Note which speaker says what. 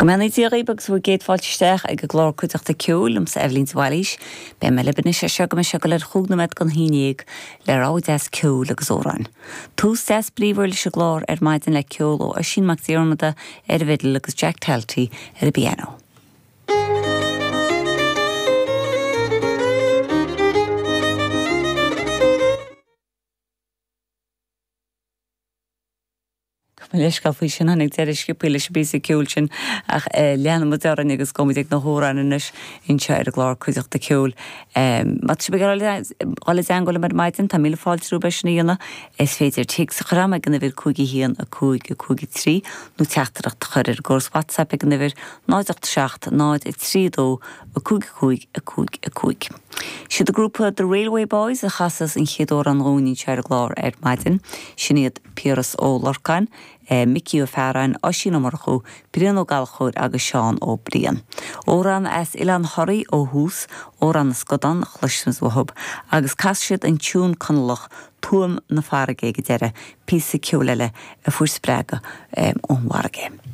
Speaker 1: Go mbeannaí Dia dhaoibh agus bhur gcéad fáilte isteach ag an gclár Cuideachta Ceoil liomsa Eibhlín de Bhailís. Beidh mé libh anois as seo go mbeidh sé ag dul ar chúig nóiméad don haon dhéag le rogha deas ceoil agus amhráin. Tús deas bríomhar leis an gclár ar maidin le ceol ó Oisín Mac Diarmada ar an bhfidil agus Jack Talty ar an bpianó. Gabh mo leithscéal faoi sin, tháinig deireadh sciobthaí leis an bpíosa ceoil sin ach leanfaidh muid orainn agus gabhfaidh muid ag na hamhráin anois anseo ar an gclár Cuideachta Ceoil. Má tá sibh ag iarraidh dul i dteangmháil liom ar maidin, tá míle fáilte romhaibh é sin a dhéanamh. Is féidir téacs a chur agam ag an uimhir 5 1 5 5 3 nó teachtaireacht a chur ar an gcóras WhatsApp ag an uimhir 0 8 7 0 3 2 5 5 5 5. Siad an grúpa The Railway Boys a chasas an chéad amhrán dhúinn anseo ar an gclár ar maidin. Sin iad. Piaras Ó Lorcáin, Micí Ó Fearáin, Oisín Ó Murchú, Brian Ó Gallchóir agus Seán Ó Briain. Amhrán as Oileán Thoraí ó thús, Amhrán na Scadán, a chloisfimid uathub, agus casfaidh siad an tiún Conallach 'Tuaim na Farraige' ag an deireadh, píosa ceoil eile a fuair spreagadh ón bhfarraige.